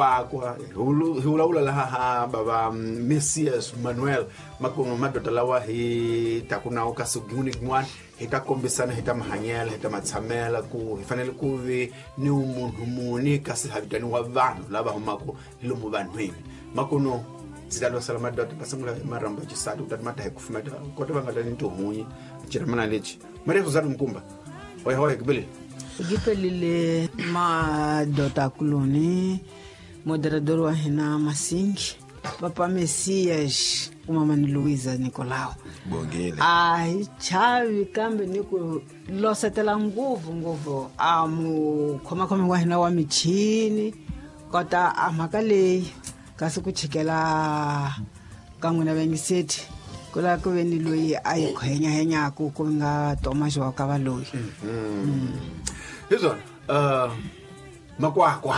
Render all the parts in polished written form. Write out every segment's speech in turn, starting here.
Makwakwa hi vulavula laha ha bava Messias Manuel makumu madoda lawa hi taku nawo kasi gin'wana ni gin'wana hi ta kombisana hi ta mahanyela hi ta matshamela ku hi fanele ku vi ni munhu muni kasi ha vitaniwa vanhu lava humaka hi lomu vanhwini makuno ndzi ta losela madoda va sungula hi marhambu ya xisati kutani ma ta hi kufumeta kota va nga ta ni tihunyi xiramana lexi Maria Suzana Mkumba hoya hoya kibeleni. Gipelile madoda kuloni moderador wa hina Masingi papa Messias kumamani Luisa Nicolau. Bongile. A hi chavi kambe ni ku losetela ngopfu ngopfu a mukhomakhomi wa hina wa michini kota a mhaka leyi kasi ku chikela ka n'wina vayingiseti ku lava ku ve ni loyi a yi khwenyahenyaku ku nga Thomas wa ka valoyi. Hi swona makwakwa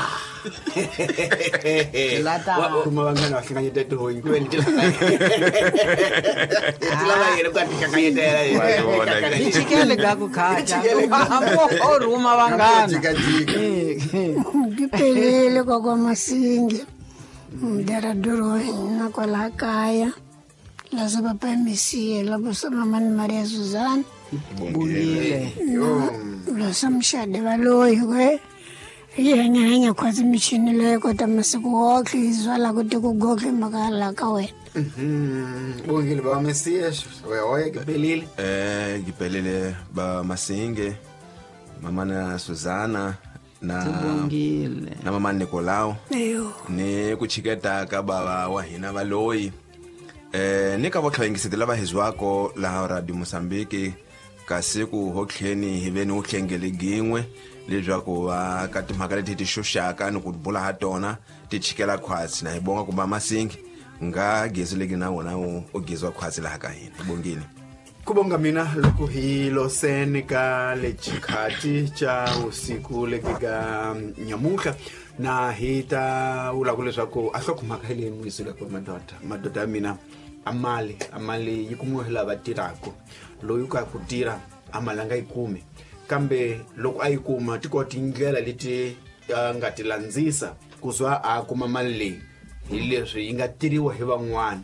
kuma vanghana va hlanganyeta tihonyi ku ve ni ti lava yena ku a ti hlanganyetela. Hi chikele ka ku khaca hambi o rhuma vanghana. Jikajika. Ngiphelile kokwa Masingi moderador wa hina kwalaha kaya laza papa Messias labusa mamani Maria Suzana. Bongile. Losa mshade valoyi kwe yi hanyahanya khwatsi michini leyi kota masiku wonkhe yi zwala ku ti ku goge mhaka laha ka wena. Bongile baba Messias hoya hoya kipelile. Ngiphelile ba Masinge mama na Suzana na Bongile. Na mama Nicolau. Eyo. Ni ku chiketa ka bava wa hina valoyi ni ka vatlhayengiseti lava hi zwako laha Radio Mozambique kasi ku hotlheni hi ve ni uhlengele gin'we leswaku va ka timhaka leti ti xuxaka ni ku bula ha tona ti chikela khwatsi na hi bonga ku ba Masingi nga gezi leki na wona u geziwa khwatsi laha ka hina. Hi bongile. Ku bonga mina loko hi loseni ka lexikhati xa vusiku leki ka nyamuhla na hi ta vula ku leswaku a hlokomhaka hi leyi muyisile ku madoda madoda ya mina a mali a mali yi kumiwa hi lava tirhaka loyi ka ku tirha a mali a nga yi kumi kambe loko a yi kuma ti kona tindlela leti a nga ti landzisa ku za a kuma mali leyi hi leswi yi nga tirhiwa hi van'wana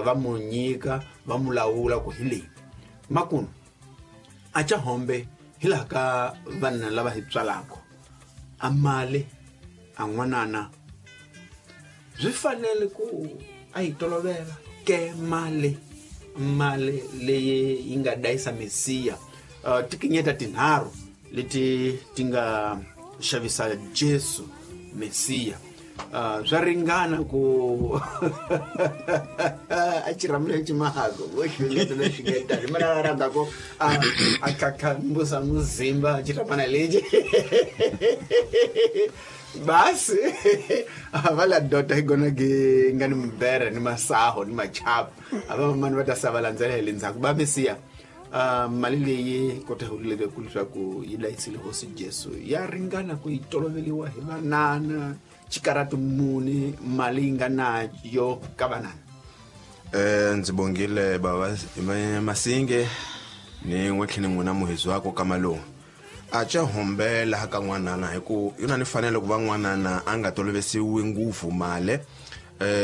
va mu nyika va mu lawula ku hi leyi makunu a ca hombe hi laha ka vanhu lava hi tswalaka a mali a n'wanana swi fanele ku a yi tolovela ke mali mali leyi yi nga dayisa Mesiya tikinyeta tinharhu leti ti nga xavisa Jesu Mesiya swa ringana ku a xiramule ximahako vo xingeto lexi ngetani mina rhandza ku a tlhatlhambusa muzimba xiramana lexi basi va la dota hi gona ge nga ni mubere ni masaho ni machapu a va mani va ta sa va landzela hi le ndzhaku ba Mesiya mali leyi kota hi ku leswaku yi layisile hosi Jesu ya ringana ku yi toloveliwa hi vanana xikarati muni mali yi nga na yo ka vanana. Ndzi bongile bava Masinge ni n'we tlhela n'wina muhizi wako ka malume a ca humbela ka n'wanana hi ku yona ni fanele ku va n'wanana a nga tolovesiwi ngopfu mali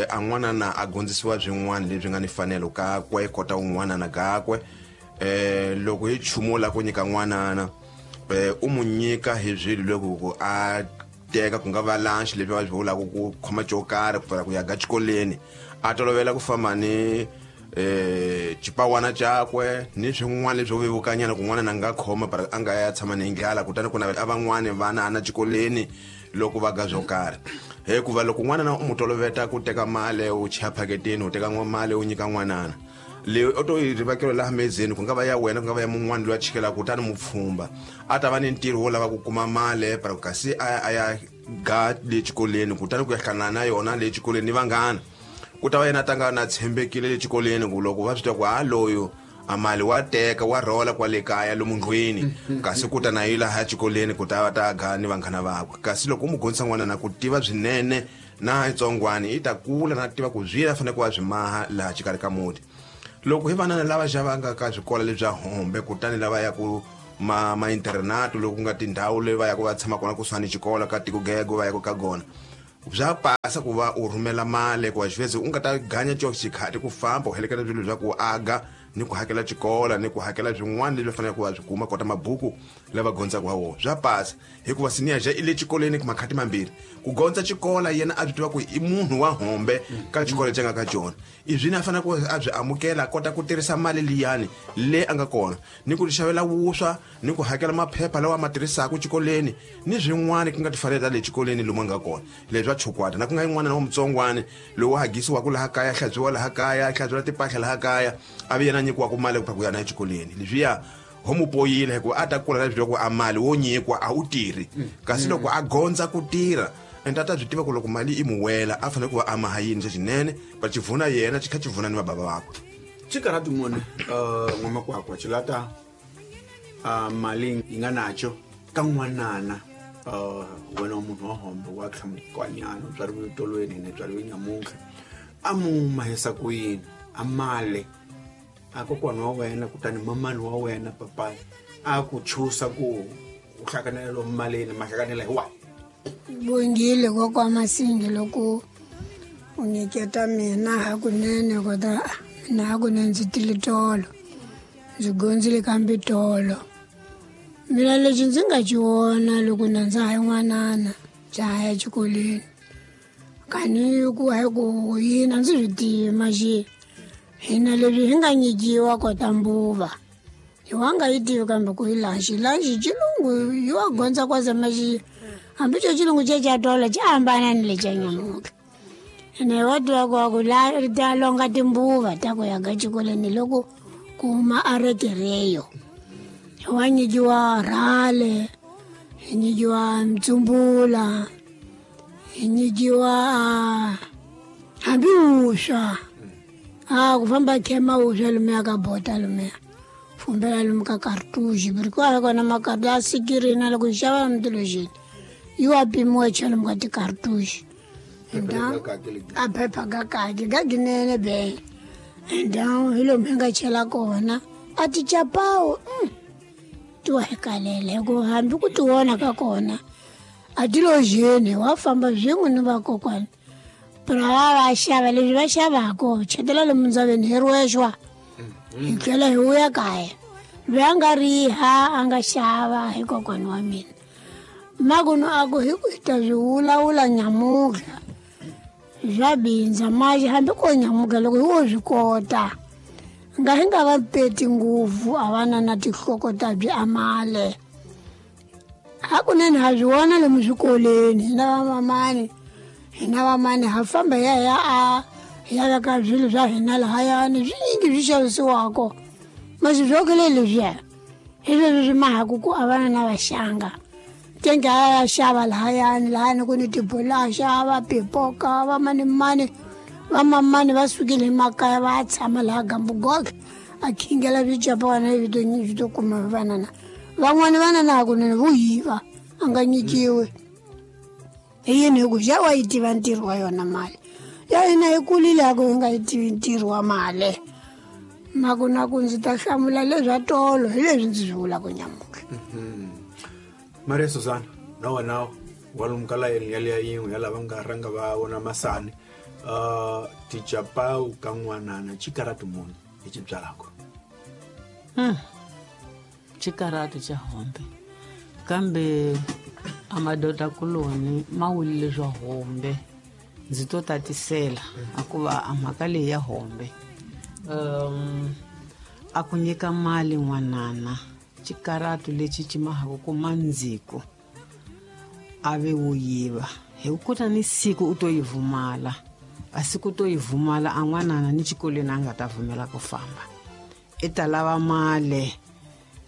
a n'wanana a gondzisiwa swin'wana leswi nga ni fanelo kakwe kota un'wanana kakwe loko hi chumu la ku nyika n'wanana u mu nyika hi swilo loko ku a teka ku nga va lunch leswi va swi vulaka ku khoma xo karhi ku pfala ku ya ga xikolweni a tolovela ku famba ni xipawana xakwe ni swin'wana leswi vevukanyana kun'wana na nga khoma para a nga ya tshama ni ndlala kutani ku navela a van'wani vana ana xikolweni loko va ga swo karhi hikuva loko n'wana u mu toloveta ku teka mali u chaya phaketini u teka mali u nyika n'wanana leyi u to yi rivakelo laha mezeni ku nga va ya wena ku nga va ya mun'wana loyi a chikelaka kutani mu pfhumba a ta va ni ntirho wo lava ku kuma mali para kasi a ya ga le xikolweni kutani ku ya hlangana na yona le xikolweni ni vanghana ku ta va yena a ta nga na tshembekile le xikolweni ku loko va swi tiva ku ha loyo a mali wa teka wa rhola kwale kaya lomu ndlwini kasi ku ta na yi laha xikolweni ku ta va ta ga ni vanghana vakwe kasi loko u mu gondzisa n'wana na ku tiva swinene na tsongwani yi ta kula na tiva ku swi fanele ku va swi maha laha xikarhi ka muti loko hi vanana lava xavanga ka swikolo lebya hombe kutani lava ya ku ma internato loko ku nga tindhawu leyi va ya ku va tshama kona kusuhani xikolo ka tiko gego va ya ku ka gona Bya pasa ku va u rhumela mali ku xiveze u nga ta ganya xo xikhati ku famba u heleketa swilo swa ku aga ni ku hakela xikola ni ku hakela swin'wana leswi faneleke ku va swi kuma kota mabuku lava gondzaka ha wona. Bya pasa hikuva senior ja i le xikolweni makhati mambirhi ku gondza xikola yena a swi tiva ku i munhu wa hombe ka xikolo lexi a nga ka xona. I swini a fanele ku a byi amukela a kota ku tirhisa mali liyani le a nga kona ni ku xavela vuswa ni ku hakela maphepha lawa a ma tirhisaka xikolweni ni swin'wana ku nga tifanele ta le xikolweni lomu a nga kona. Leswi swa chukwata na ku nga yin'wana na wa mutsongwani lowu hagisiwaka laha kaya, hlantswiwa laha kaya, hlantswiwa timpahla laha kaya, a vi yena nyikiwaka mali ku ya na exikolweni. Leswiya ho mu poyile hikuva a ta kula na swi ku a mali wo nyikiwa a wu tirhi, kasi loko a gondza ku tirha ende a ta byi tiva ku loko mali i mu wela a fanele ku va a maha yini xa xinene va xi vuna yena xi kha xi vuna ni vabava vakwe. Xikarhati muni n'wamakwakwa xi lata mali yi nga nacho ka n'wanana wena wa munhu wa hombe wa tlhamukanyana u byariwe tolweni ni byariwe nyamuntlha a mu mahisa ku yini a mali a kokwana wa wena kutani mamani wa wena papayi a ku chusa ku u hlanganela lomu malini ma hlanganela hi wahi. Bongile kokwa Masingi loko u nyiketa mina hakunene kota mina hakunene ndzi tile tolo ndzi gondzile kambe tolo. Mina lexi ndzi nga xi vona loko na ndza ha yin'wanana ndza ha ya xikolweni kani ku hayi ku yini a ndzi swi tivi maxi hina leswi hi nga nyikiwa kota mbuva hi wa nga yi tivi kambe ku yi lanxi lanxi xilungu yi wa gondza kwasa maxi hambi xo xilungu xe xa tolo xi hambana ni lexa nyamuntlha. Ene hi wa tiva ku wa ku la ri ta longa timbuva ta ku ya ka xikolweni loko ku huma a rekereyo. Hi wa nyikiwa rhale, hi nyikiwa mtsumbula, hi nyikiwa hambi vuswa. A ku famba khema vuswa lomuya ka bota lomuya fumbela lomu ka cartouche buri kwala kona makartu a sikirina loko hi xava lomu yi wa pimiwa chela lomu ka ti-cartouche. A phepha ga kaki ga ginene be ndhawu hi lomu hi nga chela kona a ti chapawu ti wa hi kalela hikuva hambi ku ti vona ka kona a ti lo jeni wa famba swin'we ni vakokwana pero va va xava leswi va xavaka chetela lomu ndzaveni hi rwexwa hi tlhela hi vuya kaya loyi a nga riha a nga xava hi kokwana wa mina makunu a ku hi ku hi ta swi vulavula nyamuntlha swa bindza maxi hambi ko nyamuka loko hi wo swi kota nga hi nga va peti ngopfu a va na na tinhloko ta byi amale hakunene ha swi vona lomu swikolweni hina vamamani hina vamani ha famba ya ya a ya veka swilo swa hina lahayani swinyingi swi xavisiwako masi swokele leswiya hi leswi swi mahaku ku a vana na vaxanga tenge a ya xava lahayani lahayani ku ni tibulaxa va pipoka va manimani vamamani va sukile emakaya va ya tshama laha gambugoke a khingela swicapawana swi to kuma vanana van'wani vanana hakunene vo yiva a nga nyikiwi hi yini hi ku xa wa yi tiva ntirho wa yona mali ya hina hi kulile a ku hi nga yi tivi ntirho wa mali maku na ku ndzi ta hlamula leswa tolo hi leswi ndzi swi vulaka nyamuntlha. Maria Susana na wena wa lomu ka layeni yaliya yin'we ya lava nga rhanga va vona masani tichapawu ka n'wanana xikarati muni hi xi byalaka. Xikarati xa hombe kambe a madoda kuloni ma wulile swa hombe ndzi to tatisela hikuva a mhaka leyi ya hombe a ku nyika mali n'wanana xikaratu lexi xi mahaka ku mandziko a ve wo yiva hi ku ta ni siku u to yi vumala a siku to yi vumala a n'wanana ni xikolweni a nga ta vumela ku famba i ta lava mali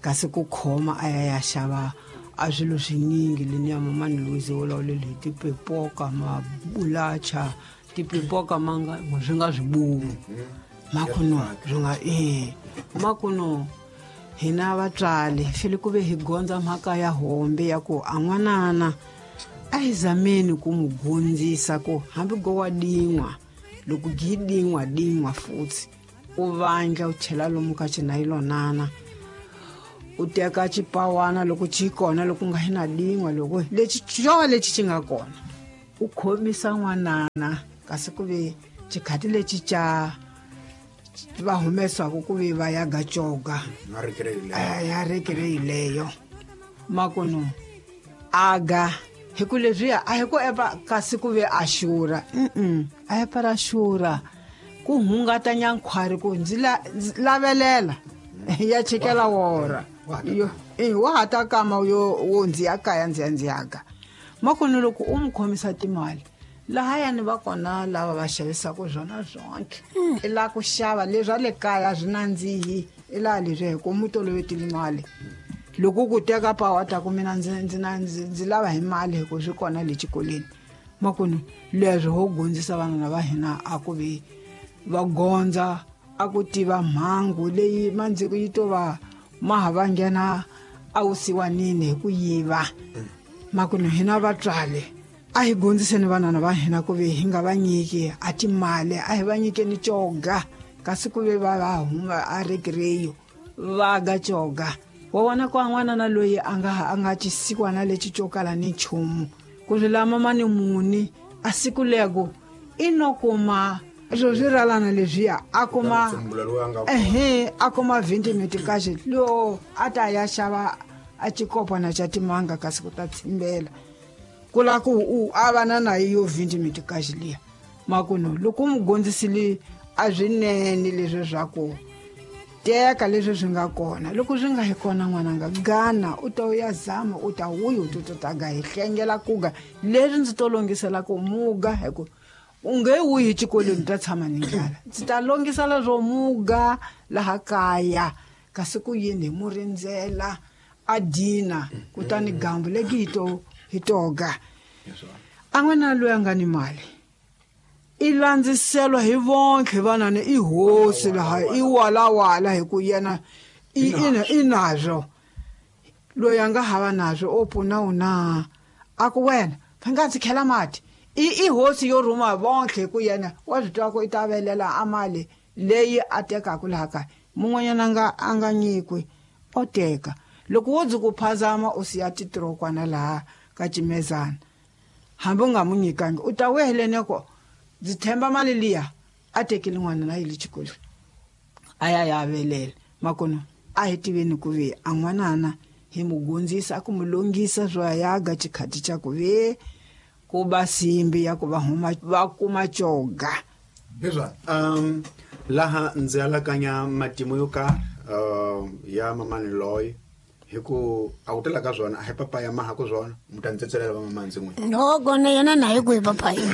kasi ku khoma a ya ya xava a swilo swinyingi leni ya mamani Louise wolawulele hi tipipoka mabulacha tipipoka ma nga swi nga swibumu makuno swi nga makuno hina vatswali fele ku ve hi gondza mhaka ya hombe ya ku a n'wanana a hi zameni ku n'wi gondzisa ku hambi go wa din'wa loko gi din'wa din'wa futhi u vandla u chela lomu ka xinayilonana u teka xipawana loko xi kona loko nga hi na din'wa loko lexi xo lexi xi nga kona. U khomisa n'wanana kasi ku ve xikhati lexi ca va humesiwaku ku ve va ya ga coga ya rekere leyo makunu aga hi ku leswiya a hi ku epa kasi ku ve a xurha a hi para xurha ku hungata nyankhwari ku ndzi lavelela ya chikela wora yo wa ha ta kama yo wo ndzi ya kaya ndzi ya ndzi yaka makunu loko u n'wi khomisa timali lahayani va kona lava va xavisaka swona swonke i lava ku xava leswi a le kaya swi nandzihi i laha leswi hi ku mu tolovetile mali loko ku teka pawa ta ku mina ndzi ndzi ndzi ndzi lava hi mali hi ku swi kona le xikolweni makunu leswi ho gondzisa vanana va hina a ku vi va gondza a ku tiva mhangu leyi mandziko yi to va ma ha va nghena a wusiwanini hi ku yiva makunu hina vatswali a hi gondziseni vanana va hina ku ve hi nga va nyiki a timali a hi va nyikeni coga kasi ku ve va va huma a rekireyo va ga coga wa vona ku an'wanana loyi a nga a nga cisikwana lexi co kala ni nchumu ku swi lama ma ni muni a siku leko i no kuma swo swi ralana leswiya a kuma ehe a kuma 20 metikaxe lo a ta ya xava a xikopana xa timanga kasi ku ta tsimbela ku la ku u a va na nayo yo 20 metikaxe liya makuno loko u n'wi gondzisile a swinene leswi swa ku teka leswi swi nga kona loko swi nga hi kona n'wananga gana u ta u ya zama u ta wuyi u to ta ga hi hlengela kuga leswi ndzi to longisela ku muga hi ku u nge wuyi xikolweni u ta tshama ni ndlala ndzi ta longisela swo muga laha kaya kasi ku yini hi mu rindzela a dina kutani gambu leki hi to hi toga a n'wana loyi a nga ni mali i landziselwa hi vonke vanani i hosi laha i walawala hi ku yena i nazwo loyi a nga hava nazwo o pfuna u na a ku wena va nga ndzi khela mati i hosi yo rhuma vonke hi ku yena wa swi twa ku i ta velela a mali leyi a tekaka laha kaya mun'wanyana nga a nga nyikwi o teka loko wo ndzi ku phazama u siya titirokwana laha ka cimezana hambi u nga mu nyikangi u ta wehelene ko ndzi tshemba mali liya a tekile n'wana na yile xikolweni a ya ya velela makono a hi tiveni ku ve a n'wanana hi mu gondzisa a ku mu longisa swo ya ga xikhati xa ku ve ku ba simbi ya ku va huma va kuma coga leswa laha ndzi alakanya matimu yo karhi ya mamani loyi hi ku a ku tela ka swona a hi papaya maha ku swona mi ta ndzi tsetselela va mamani ndzi n'wina no kona yena na hi kwihi papaya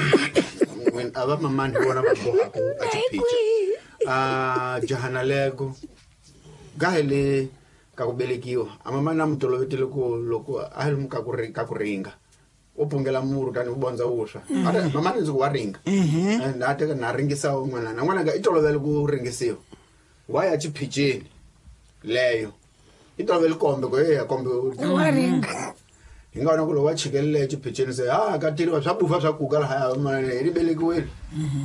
a va mamani hi vona va bohaku a xiphica a jahana lego ga hi le ka ku velekiwa a mamani a mi tolovetile ku loko a hi lomu ka ku ka ku ringa u pungela muru tani u bondza vuswa mamani ndzi ku wa ringa and a teka na ringisa un'wana na n'wananga i tolovele ku ringisiwa wa ya xiphiceni leyo i tolovele kombe ku eya kombe wa ringa hi nga vona ku loko va chikelele xiphiceni se ha ka tiriwa swa bufa swa kuka lahaya hi ri velekiwile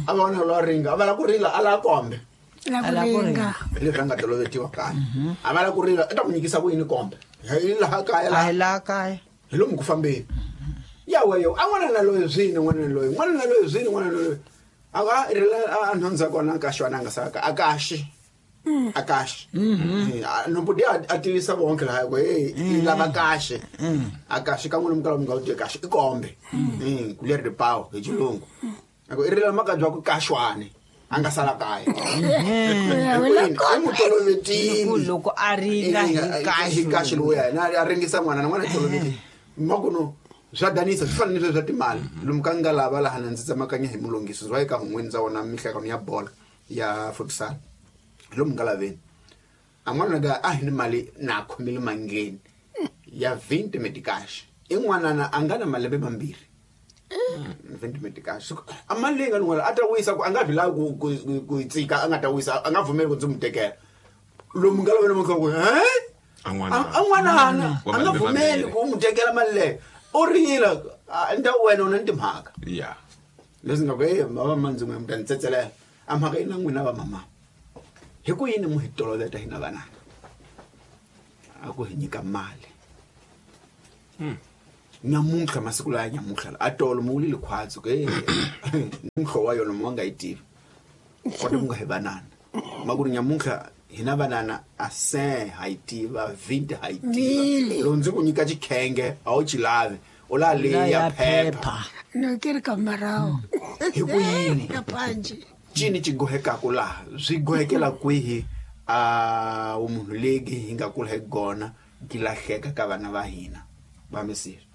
a va vona lowa ringa a va la ku rila a la kombe la ku ringa hi leswi a nga tolovetiwa kaya a va la ku rila i ta ku nyikisa ku yini kombe hi laha kaya a hi laha kaya hi lomu ku fambeni ya weyo a n'wana na loyi swini n'wana na loyi n'wana na loyi swini n'wana na loyi a va rila a nhundza kona ka xona a nga saka a kaxi a kaxi nombuti a tivisa vonke laha ku hey i lava kaxe a kaxi ka n'wina mi kala mi nga wu kaxe i kombe ku leri ripawu hi xilungu a ku i rila makabya ku kaxwani a nga sala kaya i n'wi tolovetile loko a ringa hi kaxe lowu yena a ringisa n'wana na n'wana tolovetile makuno swa danisa swi fana ni sweswi swa timali lomu ka nga lava laha na ndzi tsemakanya hi mulungisi swa eka hun'wini ndza wona mihlekano ya bola ya futsal lomu nga laveni a n'wana ka a hi ni mali na khomile mangheni ya 20 metikash i n'wanana a nga na malembe mambirhi 20 metikash a mali leyi nga ni n'wana a ta wisa ku a nga vi lavi ku yi tsika a nga ta wisa a nga pfumeli ku ndzi n'wi tekela lomu nga laveni maka ku he a n'wanana a nga pfumeli ku n'wi tekela mali leyo u rila nda wena u na ni timhaka ya leswi nga ku e va mandzi n'we mi ta ni tsetselela a mhaka yi na n'wina va mama hi ku yini mu hi toloveta hina vanana a ku hi nyika mali. Nyamuntlha masiku laya nyamuntlha a tolo mu wulile khwatsi ku mhlo wa yona mu nga yi tivi kota ku nga hi vanana ma ku ri nyamuntlha hina vanana a se ha yi tiva 20 ha yi tiva loko ndzi ku nyika xikhenge a wu xi lavi u la leya phepha no ke ri ka marawu hi ku yini ya panji cini ci gohekaku laha swi gohekela kwihi a vumunhu legi hi nga kula hi gona gi lahleka ka vana va hina va misiri.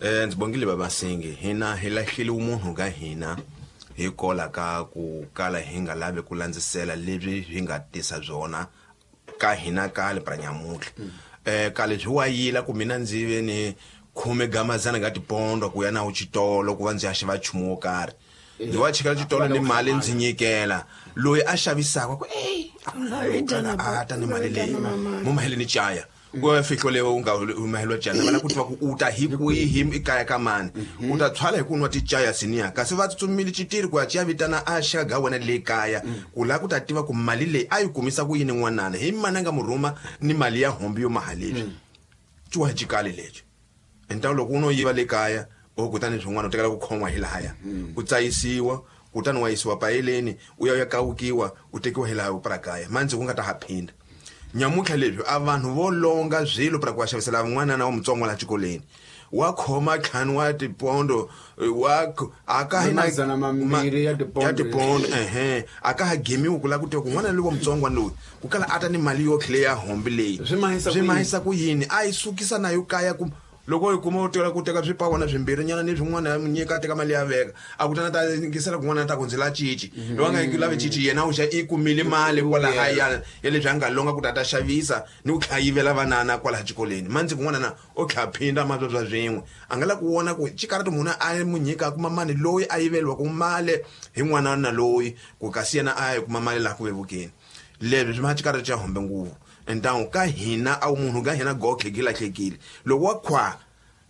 Ndzi bongile babasingi hina hi lahlile umunhu ka hina hi kola ka ku kala hi nga lavi ku landzisela leswi hi nga tisa byona ka hina kale pra nyamuntlha. Kale byi wa yila ku mina ndzi ve ni khume gamazana nga tipondo ku ya na xitolo ku va ndzi ya xava nchumu wo karhi. Ndzi wa chikela xitolo ni mali ndzi nyikela loyi a xavisaka ku a ta ni mali leyi mo mahele ni caya ku fihlo leyi u nga mahelo caya va lava ku tiva ku u ta hi kwihi ekaya ka mani u ta tshwala hi ku nwa ticaya siniya kasi va tsutsumile xitiri ku ya ciya vitana a xaka wena le kaya ku lava ku ta tiva ku mali leyi a yi kumisa ku yini n'wanana hi mani a nga mu rhuma ni mali ya hombi yo maha leswi ciwa xikali lexi ntawu loko u no yiva le kaya o kutani swin'wana u tekela ku khon'wa hi lahaya u tsayisiwa kutani wa yisiwa payeleni u ya u ya kawukiwa u tekiwa hi laha u prakaya mandzi ku nga ta ha phinda nyamuntlha leswi a vanhu vo longa swilo pra ku va xavisela n'wanana wa mutsongo laha xikolweni wa khoma ntlhanu wa tipondo wa a ka hi mazana mambirhi ya tipondo ya tipondo ehe a ka ha gemiwi ku lava ku tiva ku n'wana loyi wa mutsongwana loyi ku kala a ta ni mali yo tlhela ya hombi leyi swi mahisa ku yini a yi sukisa na yo kaya ku loko yi kuma u tela ku teka swipawana swimbirhi nyana ni swin'wana ya nyika a teka mali ya veka a kutana ta yingisela kun'wana ta ku ndzi la cici loyi a nga lavi cici yena u xa i kumile mali kwalahaya ya leswi a nga longa ku ta ta xavisa ni ku tlhela yivela vanana kwalaha xikolweni mandzi kun'wana na o tlhela phinda mavabya swin'we a nga la ku vona ku xikarati munhu a mu nyika a kuma mali loyi a yiveliwaku mali hi n'wana na loyi ku kasi yena a ya kuma mali laha ku vevukeni leswi swi ma xikarati xa hombe nguvu ntawu ka hina a munhu ka hina gotlhe ki lahlekile loko wa khwa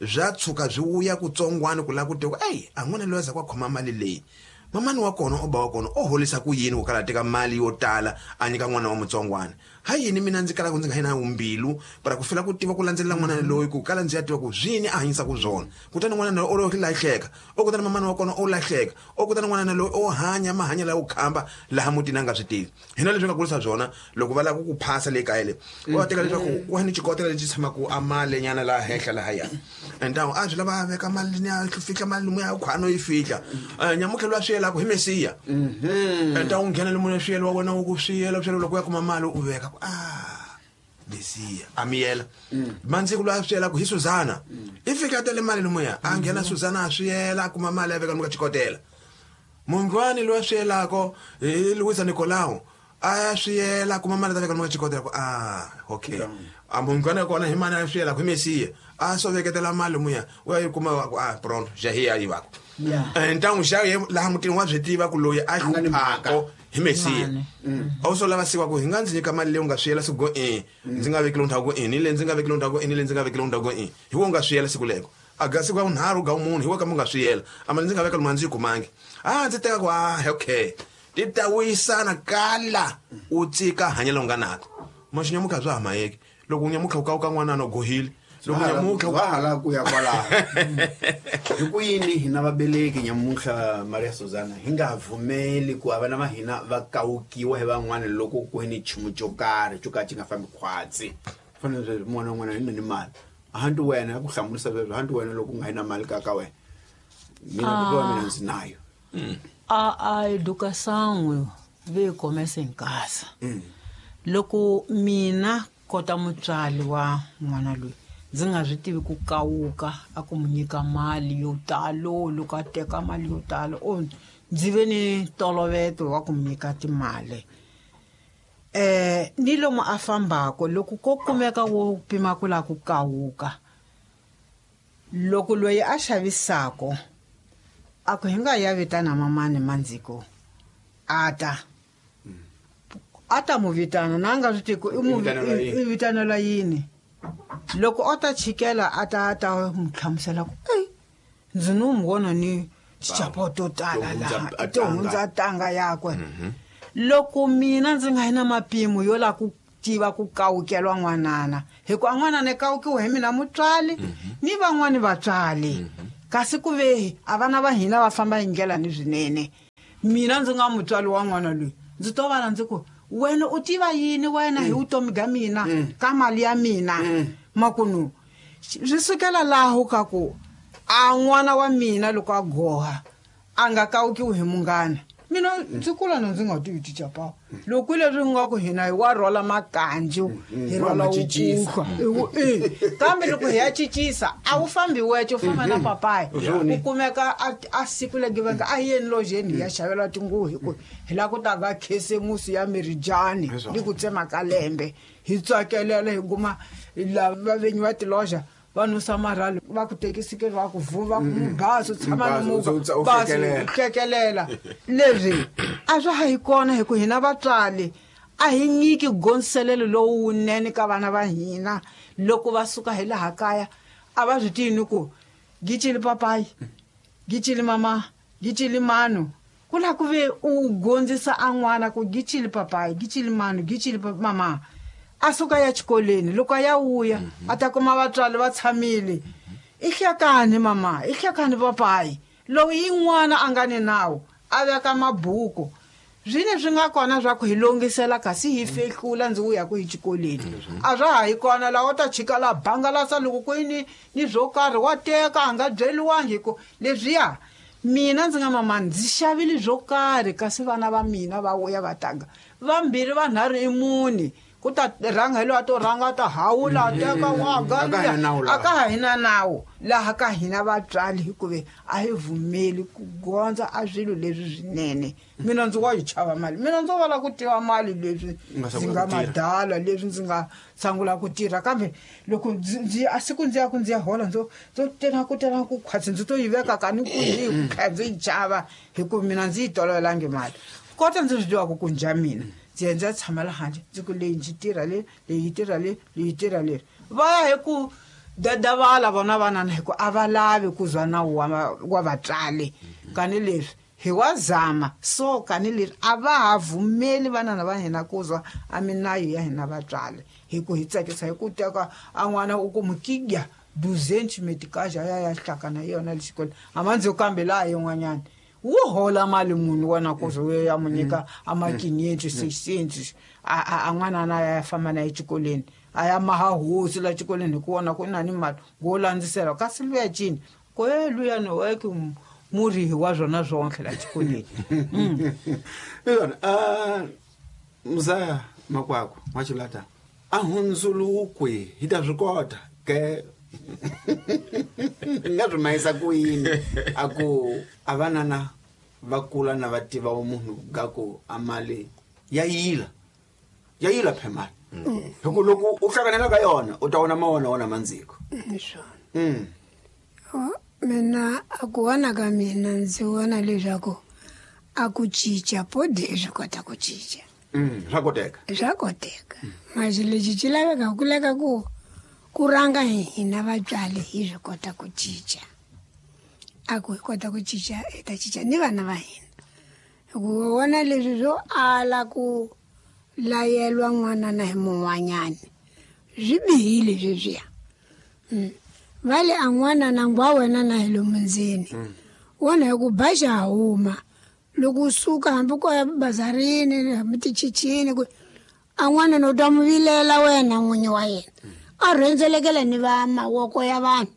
bya tshuka byi vuya kutsongwana ku lava ku tiva ku eyi a n'wana loyi a za ku a khoma mali leyi mamani wa kona o ba wa kona o holisa ku yini ku kala teka mali yo tala a nyika n'wana wa mutsongwana ha yini mina ndzi kalaka ndzi nga yi na mbilu para ku fela ku tiva ku landzelela n'wana loyi ku kala ndzi ya tiva ku swini a hanyisaka swona kutani n'wana loyi o lo lahleka o kutani mamani wa kona o lahleka o kutani n'wana loyi o hanya mahanya lawa khamba laha mutini a nga swi tivi hina leswi nga kurisa byona loko va lava ku ku phasa le kaya le va teka leswaku ku ni xikotela lexi tshamaka a mali nyana laha henhla lahaya ntawu a swi lava a veka mali ni a fihla mali lomu ya khwano yi fihla nyamutlha loyi a swi yelaka hi mesiya ntawu nghena lomu swi yela wa wena wu ku swi yela swi yela loko u ya kuma mali u veka ku a mesiya a miyela mandziko loyi a swi yelaka hi Suzana i fika a tele mali lomuya a nghena Suzana a swi yela a kuma mali a veka lomu ka xikotela mungwani loyi a swi yelako hi Luisa Nicolau a ya swi yela kuma mali ta veka lomu ka xikotela ku a okay a mungwani wa kona hi mani a swi yelaka hi mesiya a swo veketela mali muya u ya yi kuma ku a pronto xa hi ya yivaka ntangu xa laha mutini wa swi tiva ku loyi a hluphako hi mesiya a wu swo lava siwa ku hi nga ndzi nyika mali leyi u nga swi yela siku go e ndzi nga vekile ndhawu go e ni le ndzi nga vekile ndhawu go e ni le ndzi nga vekile ndhawu go e hi wo nga swi yela siku leko a ga siku ya vunharhu ga munhu hi wo kambe u nga swi yela a mali ndzi nga veka lomu a ndzi yi kumangi a ndzi teka ku a okay ti ta wuyisana kala u tsika hanyelo u nga nako maxinyamuka bya ha mayeki loko nyamutlha u kawuka n'wana no gohile loko nyamutlha wa hala ku ya kwalaho hi ku yini hina vabeleki nyamutlha Maria Suzana hi nga vumeli ku a vana va hina va kawukiwa hi van'wana loko ku ni nchumu xo karhi xo ka xi nga fambi khwatsi fanele sweswi n'wana un'wana hi ni mali hanti wena ku hlamurisa sweswo hanti wena loko u nga yi na mali ka ka wena mina kuva mina ndzi nayo a educação veio começa em casa. Loko mina kota mutswari wa n'wana loyi ndzi nga swi tivi ku kawuka a ku mu nyika mali yo talo loko a teka mali yo talo o ndzi ve ni ntolovelo wa ku mu nyika timali ni lomu a fambako loko ko kumeka wo pima ku lava ku kawuka loko loyi a xavisako a ku hi nga ya vitana mamani mandziko a ta mu vitana na nga swi tivi ku i vitanela yini loko o ta chikela a ta mu hlamusela ku ei ndzi no mu vona ni tichapo to tala laha to hundza tanga yakwe loko mina ndzi nga yi na mapimo yo lava ku tiva ku kawukelwa n'wanana hikuva n'wanana kawukiwa hi mina mutswali ni van'wani vatswali kasi ku ve a vana va hina va famba hi ndlela ni swinene mina ndzi nga mutswali wa n'wana loyi ndzi to vana ndzi ku wena u tiva yini wena hi vutomi bya mina ka mali ya mina makunu swi sukela laho ka ku a n'wana wa mina loko a goha a nga kawukiwi hi munghana mina ndzi kula na ndzi nga tivi ticapa loko leswi nga ku hina hi wa rhwala makanju hi rhwala wukuhlwa kambe loko hi ya cincisa a wu fambi wece u famba na papayi u kumeka a siku legiveka a yeni lojeni hi ya xavela tinguvu hi ku hi lava ku ta ka khisimusi ya mirijani ni ku tsema ka lembe hi tsakelela hi kuma lava vinyi va tiloja va nusa marhali va ku tekisikeli va ku vuva bazi u tshama ni movha bazi u hlekelela leswi a swa ha yi kona hi ku hina vatswali a hi nyiki gonselelo lowunene ka vana va hina loko va suka hi laha kaya a va swi tivi ni ku gicili papayi gicili mama gicili manu ku la ku ve u gondzisa a n'wana ku gicili papayi gicili manu gicili mama a suka ya xikolweni loko a ya vuya a ta kuma vatswari va tshamile i hlekani mama i hlekani papayi lowu yin'wana a nga ni nawu a veka mabuku zwine swi nga kona swa ku hi longisela kasi hi fehlula ndzi vuya ku hi xikolweni a swa ha yi kona laha u ta chika la bangalasa loko ku ni ni swo karhi wa teka a nga byeliwangi hi ku leswiya mina ndzi nga mama ndzi xavile swo karhi kasi vana va mina va vuya va tanga vambirhi vanharhu i mune ku ta rhanga hi loyi a to rhanga a ta hawula a teka waga a ka ha hina nawu laha ka hina vatswali hikuve a hi vumeli ku gondza a swilo leswi swinene mina ndzi wa yi chava mali mina ndzo vala ku tiva mali leswi ndzi nga madala leswi ndzi nga sungula ku tirha kambe loko ndzi a siku ndzi ya ku ndzi ya hola ndzo ndzo tena ku tena ku khwatsi ndzi to yi veka ka ni ku yi ku kha ndzi yi chava hikuva mina ndzi yi tolovelangi mali kota ndzi swi tivaka ku njha mina ndzi ya ndzi ya tshama la handle ndzi ku leyi ndzi tirha leyi leyi tirha leyi leyi tirha leri va ya hi ku dadavala vona vanana hi ku a va lavi ku zwa nawu wa vatswali kani leswi hi wa zama so kani leswi a va ha vumeli vanana va hina ku zwa a minayo ya hina vatswali hi ku hi tsakisa hi ku teka a n'wana u ku mukigya 200 metikaja ya ya hlakana yona le xikolweni a ma ndzi kambe laha yin'wanyana wu hola mali munhu wena ku ze ya mu nyika a makinyenti 600 a n'wana na ya famba na exikolweni a ya maha hosi la xikolweni hi ku vona ku na ni mali ngo landzisela kasi luya cini ko e luya ni weke murihi wa swona swonke la xikolweni yona muzaya makwakwa n'waxilata a hundzulukwe hi ta swi kota ke nga swi mayisa ku yini a ku a vanana va kula na va tiva munhu ga ku a mali ya yila ya yila phe mali hi ku loko u hlanganela ka yona u ta vona ma wona wona mandziko mina a ku vona ka mina ndzi vona leswaku a ku cinca podi swi kota ku cinca swa koteka swa koteka masi lexi xi laveka ku leka ku ku rhanga hina vatswari hi swi kota ku cinca a ku hi kota ku cinca hi ta cinca ni vana va hina hikuva vona leswi swo ala ku layelwa n'wana na hi mun'wanyana swi bihile sweswiya va le a n'wana na ngwa wena na hi lomu ndzeni wona hi ku ba xa huma loko u suka hambi ko ya bazarini hambi tichichini ku a n'wana no ta mu vilela wena n'winyi wa yena a rhendzelekela ni va mavoko ya vanhu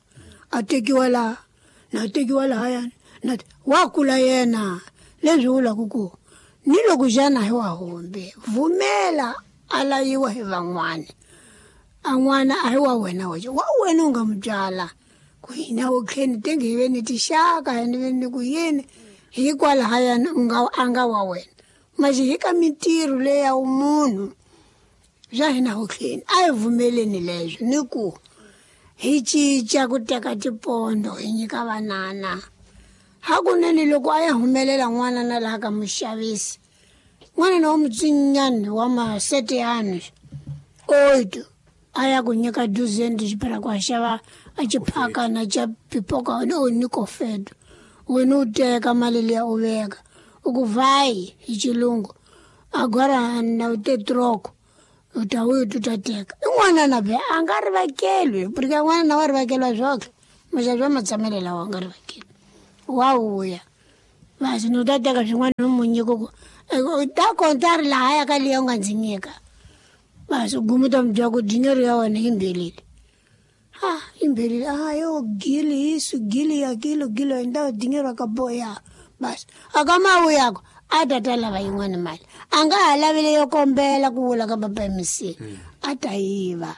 a tekiwa laha na tekiwa lahayani na wa kula yena leswi vulaka ku ni loko xana hi wa hombe vumela a layiwa hi van'wana a n'wana a hi wa wena wexe wa wena u nga mu byala ku hina okheni tenge hi ve ni tixaka hi ni ve ni ku yini hikwalahayani u nga a nga wa wena maxi hi ka mintirho leya munhu swa hina hokheni a hi vumeleni leswo ni ku hi cinca ku teka tipondo hi nyika vanana hakunene loko a ya humelela n'wana na laha ka muxavisi n'wana na wa mutsinyani wa maseteyani oito a ya ku nyika 200 xipela ku a xava a xiphakana xa pipoka o nikofedo wena u teka mali liya u veka u ku vayi hi xilungu agora na u te troko U ta vuya u ta teka. I n'wana na be a nga rivakelwi, porque n'wana na wa rivakelwa swoke. Muxavi wa matshamelo lawa a nga rivakeli. Wa vuya. Basi ni u ta teka swin'wana ni mu nyika ku u ta konta ri lahaya ka liya u nga ndzi nyika. Basi u guma u ta mi byela ku dinero ya wena yi mbhelile. Ah, imbelile. Ah, yo gili isso, gili aquilo, gili então dinheiro acabou ya. Basi akamawu yako a ta ta lava yin'wana mali. A nga ha lavi leyo kombela ku vula ka papa MC. A ta yiva.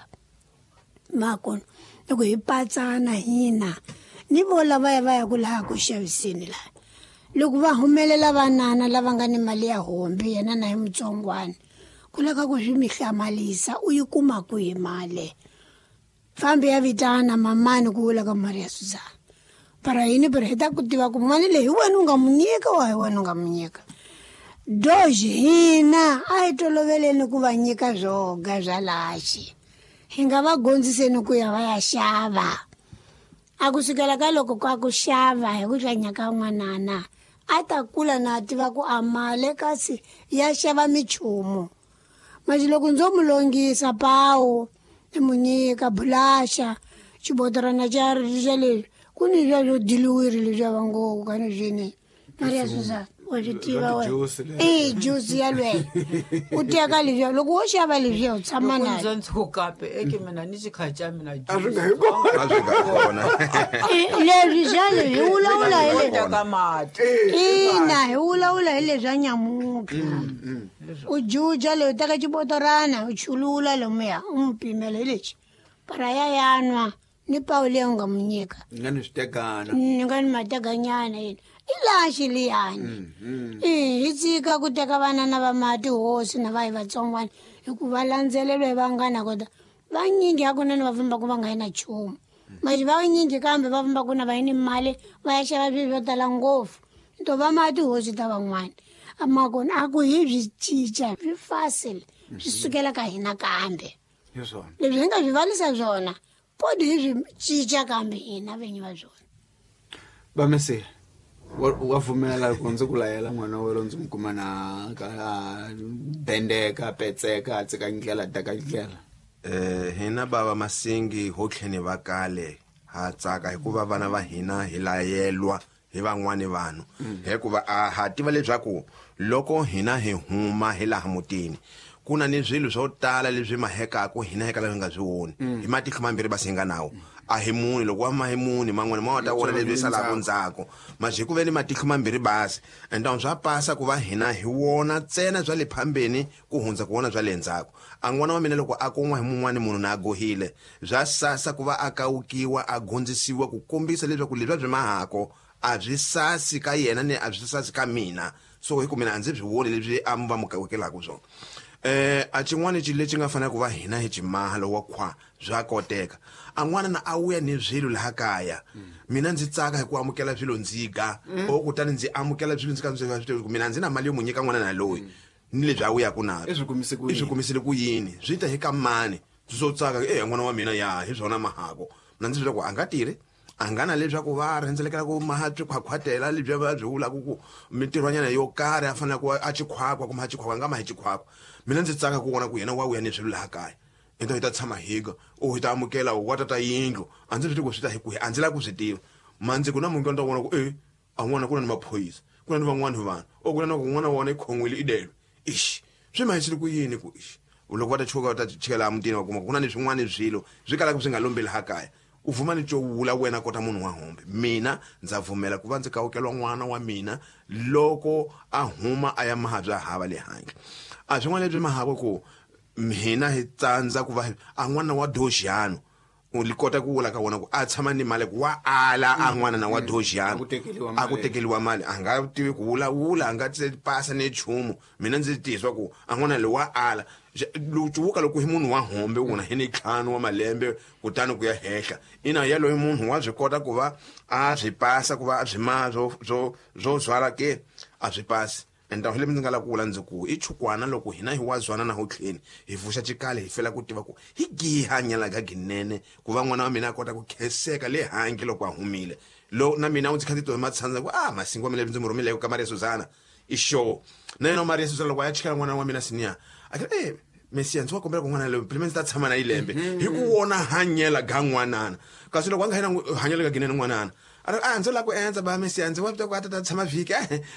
Makona loko hi patsana hina ni vo lavaya va ya ku laha ku xaviseni laha. Loko va humelela vanana lava nga ni mali ya hombi yena na hi mutsongwana ku lava ku swi mi hlamalisa u yi kuma kwihi mali. Fambi ya vitana mamani ku vula ka Maria Suzana. Para yini pero hi ta ku tiva ku mali leyi hi wena u nga mu nyika wa hi wena u nga mu nyika. Doge hina a hi toloveleni ku va nyika swoga swa laxi. Hi nga va gondziseni ku ya va ya xava. A ku sukela ka loko ka ku xava hi ku hlanya ka n'wanana a ta kula na tiva ku a mali kasi ya xava michumu. Manje loko ndzo mu longisa pawu ni mu nyika bulaxa xibotorana xa xa leswi ku ni swa swo diliwiri leswiya va ngo ka ni swini Maria Suzana wa swi tiva wena i juice yalweyo u teka leswiya loko wo xava leswiya u tshama loko nayo ndzo ntshuka pe eke mina ni xikhaca mina A swi nga hi kona. A swi nga kona. Leswi xa leswi hi vulavula hi leswi teka mati ina hi vulavula hi leswa nyamutlha u juja leyi u teka xibotorana u chulula lomuya u n'wi pimela hi lexi para ya yanwa ni pawu leyi u nga mu nyika Ni nga ni swi tekana. Ni nga ni matekanyana yini i laxi liyani i hi tshika ku teka vanana va mati hosi na va hi vatsongwana hikuva landzelelwa hi vanghana kota vanyingi hakunene va fambaka va nga yi na nchumu manje vanyingi kambe va fambaka na va yi ni mali va ya xava swilo swo tala ngopfu to va mati hosi ta van'wana makona a ku hi byi cinca swi facile swi sukela ka hina kambe Hi swona. Leswi hi nga swi valisa swona podi hi swi cinca kambe hina vinyi va swona. Vamesiya wa pfumela loko ndzi ku layela n'wana wa wena ndzi n'wi kuma na ka bendeka petseka a tsika ndlela teka ndlela. Hina bava Masingi ho tlheni va kale ha tsaka hikuva vana va hina hi layelwa hi van'wani vanhu hikuva a ha tiva leswaku loko hina hi huma hi laha mutini ku na ni swilo swo tala leswi mahekaka hina hi kala hi nga swi voni hi matihlo mambirhi basi hi nga nawo a hi muni loko wa ma hi muni man'wana ma wa ta vona leswi salaka ndzhaku manje hi ku ve ni matihlo mambirhi basi ende swa pasa ku va hina hi wona ntsena bya le phambeni ku hundza ku vona bya le ndzhaku a n'wana wa mina loko a kun'wa hi mun'wani munhu na a gohile bya sasa ku va a kawukiwa a gondzisiwa ku kombisa leswaku leswi a byi mahako a byi sasi ka yena ni a byi sasi ka mina so hi ku mina a ndzi byi voni leswi a va mu kawukelaka swona a xin'wana xilo lexi nga fanela ku va hina hi ximaha lowa khwa bya koteka a n'wana na a wuya ni swilo laha kaya mina ndzi tsaka hi ku amukela swilo ndzi ga o kutani ndzi amukela swilo ndzi ka ndzi swi tivi ku mina ndzi na mali yo mu nyika n'wana na loyi ni lebyi a wuyaka na I swi kumise ku i swi yini? kumisile ku yini swi ta hi ka mani swo tsaka e n'wana wa mina ya hi swona mahako mina ndzi swi ku a nga tirhi a nga na leswaku va rhendzelekela ku maha swikhwakhwatela lebyi va byi vulaka ku mintirhwanyana yo karhi a fanele ku a xikhwakhwa kumbe a xikhwakhwa a nga ma hi xikhwakhwa mina ndzi tsaka ku vona ku yena wa vuya ni swilo laha kaya into hi ta tshama higa o hi ta amukela wa tata yindlu a ndzi swi tivi ku swi ta hi kwihi a ndzi lavi ku swi tiva mandzi ku na munhu ni ta vona ku e a n'wana ku na ni maphorisa ku na ni van'wani vanhu o ku na na ku n'wana wa wona i khon'wile i delwe ixi swi mahisile ku yini ku ixi loko va ta chuka va ta chikela emutini va kuma ku na ni swin'wana swilo swi kalaka swi nga lombeli laha kaya u vuma ni co vula wena kota munhu wa hombe mina ndza pfumela ku va ndzi kawukelwa n'wana wa mina loko a huma a ya maha bya hava le handle a swin'wana leswi mahako ku hina hi tsandza ku va a n'wana wa doxiyano u li kota ku vula ka wona ku a tshama ni mali ku wa ala a n'wana na wa doxiyano A ku tekeliwa a ku mali. tekeliwa mali a nga tivi ku vulavula a nga pasa ni nchumu mina ndzi tizwa ku a n'wana loyi wa ala cuvuka loko hi munhu wa hombe u na hi ni ntlhanu wa malembe kutani ku ya henhla ina yaloye munhu wa swi kota ku va a swi pasa ku va a swi maha swo zwala ke a swi pasi ende hi ndzi nga lava ku vula ndzi ku i chukwana loko hina hi wa zwana na ho tlheni hi pfuxa xikale hi fela ku tiva ku hi gihi hanyela ka ginene ku va n'wana wa mina a kota ku khenseka le handle loko a humile lo na mina u ndzi kha ndzi twa matshandza ku a masingo wa mina ndzi mu rhumile ka Maria Suzana i sure na yena Maria Suzana loko a ya chikela n'wana wa mina senior a ke Mesiya ndzi wa kombela ku n'wana loyi pele ndzi ta tshama na yilembe hi ku wona hanyela ga n'wanana kasi loko a nga yena hanyela ka ginene n'wanana a ri a ndzi lava ku endza ba Mesiya ndzi wa ku a ta tshama vhiki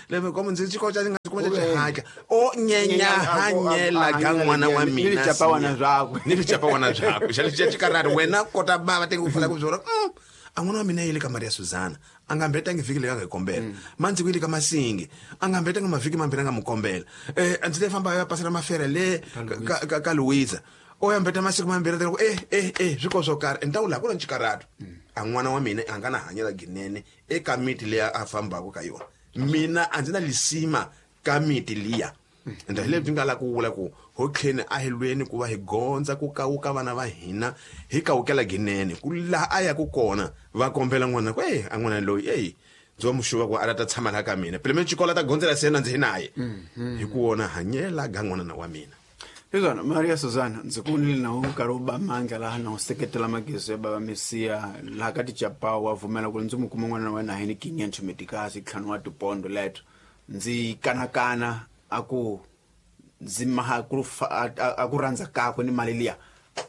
lembe komo ndzi xikolo xa ndzi nga kuma xa xihatla o nyenya hanyela ga n'wana wa mina ni vichapawana byakwe ni vichapawana byakwe xa lexi xikarhari wena kota bava tenge ku fana ku byona a n'wana wa mina yile ka Maria Suzana a nga mbetangi vhiki leyi a nga yi kombela mandzi ku yile ka Masingi a nga mbetangi mavhiki mambirhi a nga mu kombela ndzi te famba ya pasela mafere le ka Louisa o ya mbeta masiku mambirhi ku swi ko swo karhi ni ta wula ku na xikarhatu a n'wana wa mina a nga na hanyela ginene eka miti leyi a fambaka ka yona mina a ndzi na lisima ka miti liya ende hi lebyi nga la ku vula ku ho tlheni a hi lweni ku va hi gondza ku kawuka vana va hina hi kawukela ginene ku laha a yaku kona va kombela n'wana ku a n'wana loyi eyi ndzi wa muxuva ku a ta tshama laha ka mina pele me xikolo ta gondzela se na ndzi hi naye hi ku wona hanyela ga n'wanana wa mina Hiswona Maria Suzana ndzi ku vonile na wu nkarhi wu ba mandla laha na wu seketela magezo ya bava Mesiya laha ka tichapawu wa pfumela ku ndzi mu kuma n'wana wa wena hi ni kinye nchumetikasi ntlhanu wa tipondo leto ndzi kanakana a ku ndzi maha ku a ku rhandza kakwe ni mali liya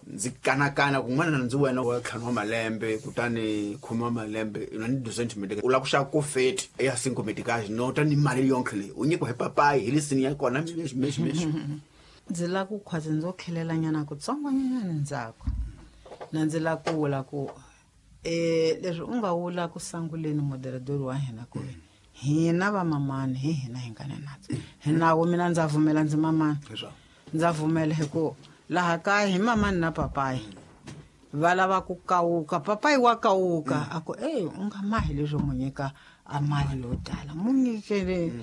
ndzi kanakana ku n'wana ndzi wena wa ntlhanu wa malembe kutani khume wa malembe na ni 2 cm u lava ku xava ku 30 ya 5 metikasi no ta ni mali yonkhe leyi u nyikiwa hi papayi hi lisini ya kona mexi mexi mexi ndzi lava ku khwaze ndzo khelelanyana kutsongonyana ndzhaku na ndzi lava ku vula ku leswi u nga vula ku sanguleni moderadori wa hina ku hina vamamani hi hina hi nga na natso hi nawu mina ndza pfumela ndzi mamani ndza pfumela hi ku laha kaya hi mamani na papayi va lava ku kawuka papayi wa kawuka a ku ey u nga mahi leswo mu nyika a mali yo tala mu nyikele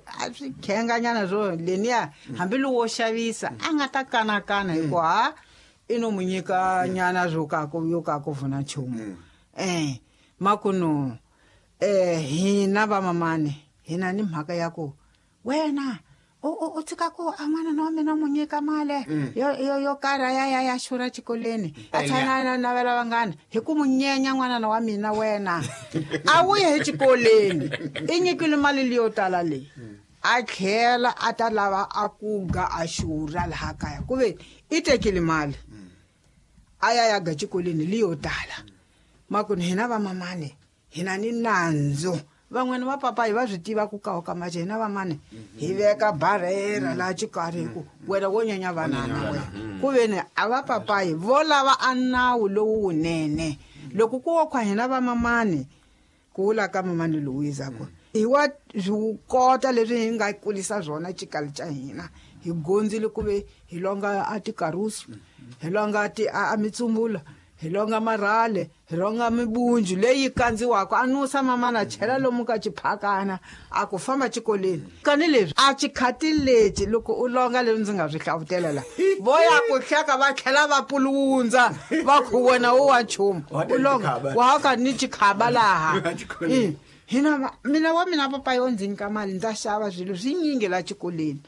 a swi khenganyana swo leniya hambi lowo xavisa a nga ta kanakana hi ku ha i no mu nyika nyana swo ka ku yo ka ku vuna nchumu makuno hina vamamani hina ni mhaka ya ku wena u tshika ku a n'wana wa mina mu nyika mali yo karhi ya ya ya xurha xikolweni a tshana na navela vanghana hi ku mu nyenya n'wanana wa mina wena a wu ye exikolweni i nyikile mali leyo tala leyi a tlhela a ta lava a ku ga a xurha laha kaya ku ve i tekile mali a ya ya ga xikolweni leyo tala makuni hina vamamani hina ni nandzu van'wana va papayi va swi tiva ku kawuka mace hina vamani hi veka barhera laha xikarhi hi ku wena wo nyenya vanana wena ku veni a va papayi vo lava a nawu lowu wunene loko ku wo khwa hina vamamani ku vula ka mamani Louisa ku hi wa swi kota leswi hi nga kulisa swona xikali xa hina hi gondzile ku ve hi longa a tikarusu hi longa a mitsumbula hi longa marhale hi longa mibunju leyi kandziwaka a nusa mamana chela lomu ka xiphakana a ku famba xikolweni kani leswi a xikhati lexi loko u longa leswi ndzi nga swi hlavutela la vo ya ku hleka va tlhela va pulundza va ku wena wo wa nchumu u longa wa ka ni xikhaba laha hina mina wa mina papa yo ndzi nyika mali ndza xava swilo swinyingi la xikolweni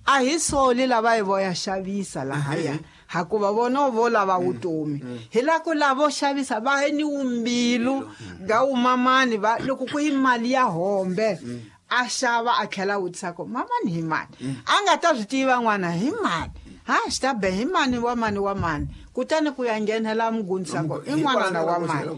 a hi soli lava hi voya xavisa lahaya hakuva vona vo lava vutomi hi la ku lavo xavisa va ni wumbilu ga wumamani va loko ku yi mali ya hombe a xava a tlhela vutisa ku mamani hi mani a nga ta swi tiva n'wana hi mani ha swi ta be hi mani wa mani wa mani kutani ku ya nghenela mugondzisi ko i n'wanana wa mani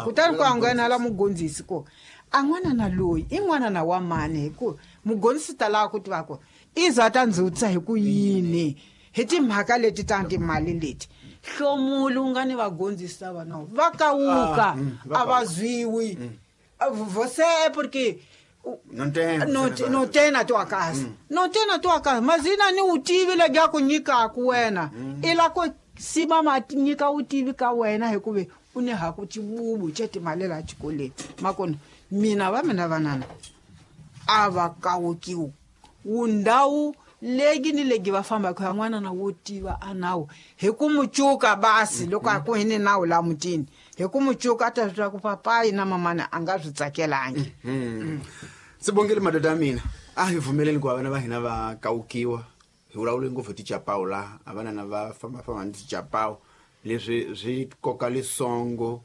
kutani ku ya nghenela mugondzisi ko a n'wanana loyi i n'wanana wa mani hi ku mugondzisi ta lava ku tiva ku i za ta ndzi vutisa hi ku yini hi timhaka leti ta timali leti hlomulu nga ni vagondzisi lava no va kawuka a va zwiwi você porque no tem na tua casa não tem na tua casa mas ina ni utivi lebyi a ku nyikaku wena i la ku sima ma nyika utivi ka wena hikuva u ni haku xibubu xa timali laha xikolweni makona mina va mina vanana a va kawukiwi wundhawu legi ni legi va fambaka ya n'wana na wo tiva a nawu hi ku mu cuka basi loko a ku hi ni nawu la mutini hi ku mu cuka a ta swi tiva ku papayi na mamana a nga swi tsakelangi Sibongile madoda ya mina a hi pfumeleni ku va vana va hina va kawukiwa hi vulavule ngopfu hi tichapawu laha a vanana va fambafamba ni tichapawu leswi swi koka lisongo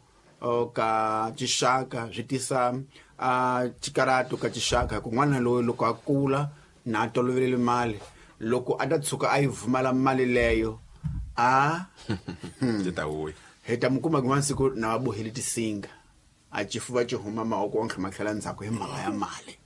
ka xixaka swi tisa a xikarato ka xixaka hi ku n'wana loyi loko a kula na a tolovelele mali Loko a ta tshuka a yi vumala mali leyo a ti ta vuya. Hi ta mi kuma kun'wana siku na va bohile tisinga, a xifuva xi huma mavoko ontlhe ma tlhela ndzhaku hi mhaka ya mali.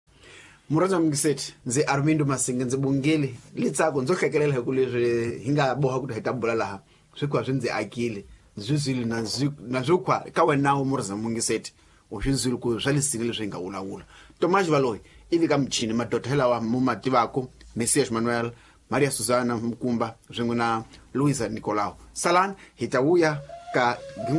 Murhandza mungiseti, ndzi Armindo Masinge, ndzi bongile litsako ndzo hlekelela hi ku leswi hi nga boha ku hi ta bula laha swi kha swi ndzi akile, ndzi zwile na swi khwa ka wena murhandza mungiseti, u swi zwile ku swa lisinga leswi hi nga vulavula. Tomas Valoyi ivi ka michini madoda lawa mu ma tivaka, Messias Manuel, Maria Susana Mukumba swin'we na Luisa Nicolau. Salani, hi ta vuya ka gin'wana.